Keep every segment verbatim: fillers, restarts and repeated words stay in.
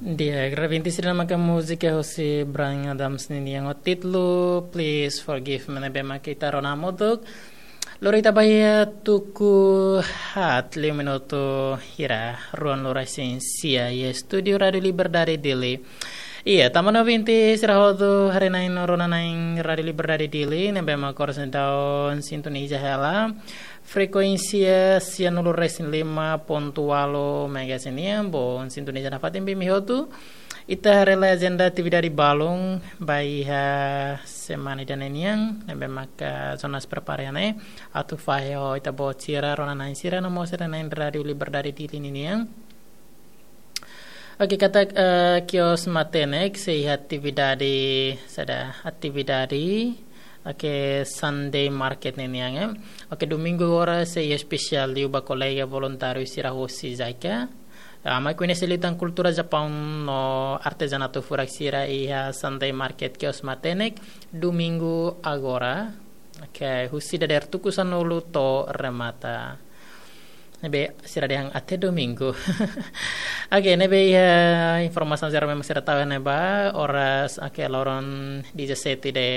Di'ak, rabinti sira, ne'e maka múzika husi Bryan Adams nian ho títulu Please Forgive Me ne'ebé maka ita rona hamutuk. Lori ita ba iha tuku haat liu minutu hira, ruanulu-resin-sia iha estúdiu Rádiu Liberdade Dili. Iya, tama ona ouvinte sira hotu, haree-na'in no rona-na'in Rádiu Liberdade Dili, ne'ebé maka oras ne'e daudaun sintoniza hela frekuénsia sianulu-resin-lima pontu ualu megahertz nian, bom, sintoniza nafatin ba imi hotu. Ita haree lai ajenda atividade balun ba iha semana ida-ne'e nian, ne'ebé maka Jonas prepara iha ne'e atu fahe ho ita-boot sira, rona-na'in sira no mós sira na'in Rádiu Liberdade Dili ninian. Oke, katak, eh, kios matenek sei iha atividade, saida, atividade, oke, Sunday Market ninian, eh. Oke, domingu agora sei espesiál liu ba kolega voluntáriu sira husi JICA. Ah, mai koñese liután kultura Japaun no artezanatu furak sira iha Sunday Market kios matenek, domingu agora. Oke, husi dadeer tuku sanulu to'o remata. Ne'ebé sira dehan até domingu. Oke, ne'ebé iha informasaun jerál memang sira tau iha ne'ebá, oras, oke, loron dezassete de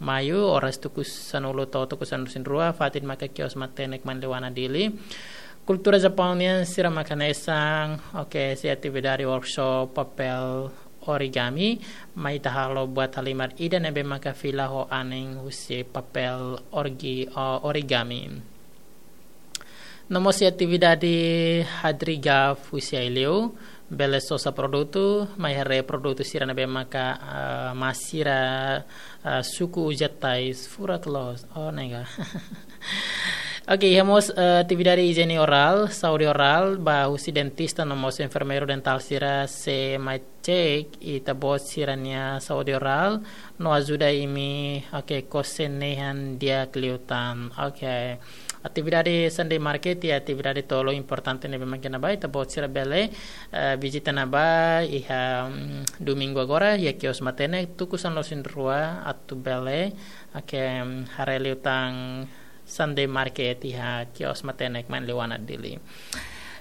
Maio, oras tuku sanulu to'o tuku sanulu-resin-rua, fatin maka kios matenek Manleuana Dili. Kultura Japaun nian sira maka hanesan, oke, sei atividade workshop papél origami, mai ita halo buat halimar ida ne'ebé maka fila ho anin husi papél orgi-, o-, origami. No mós sei atividade Hadri Gaf husi Aileu, bele sosa produtu, mai haree produtu sira ne'ebé maka, ah, mak sira, ah, suku uza tais furak loos. Oh, nega. Oke, iha mós, eh, atividade ijiene orál, saúde orál, ba husi dentista no mós enfermeiru dentál sira sei mai cek ita-boot sira-nia saúde orál, no ajuda imi, oke, kose nehan di'ak liután. Oke. Atividade Sunday Market iha atividade tolu importante ne'ebé maka iha ne'ebá, ita-boot sira bele, eh, vizita ne'ebá iha, mm, domingu agora, iha kios matenek, tuku sanulu-resin-rua, atu bele, oke, mm, haree liután Sunday Market iha kios matenek Manleuana Dili.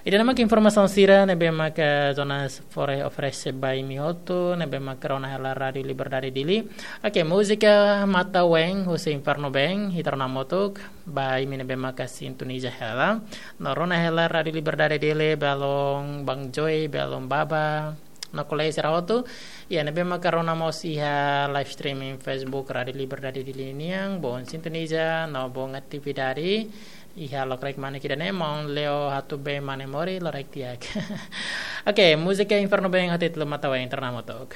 Ida-ne'e maka informasaun sira ne'ebé maka Jonas fó oferese ba imi hotu, ne'ebé maka rona hela Rádiu Liberdade Dili. Oke, múzika Mata Weng husi Inferno Band, ita rona hamutuk, ba imi ne'ebé maka sintoniza hela. No rona hela Rádiu Liberdade Dili, belun Bang Joy, belun Baba, no kolega sira hotu. Iha ne'ebé maka rona mós iha live streaming Facebook Rádiu Liberdade Dili nian, bom sintoniza, no bom atividade. Iha lokraik mane ida-ne'e, maun Leo Hatube Mane Mori, lokraik di'ak. Oke, múzika Inferno Band ho títulu Mata Weng, ita rona hamutuk.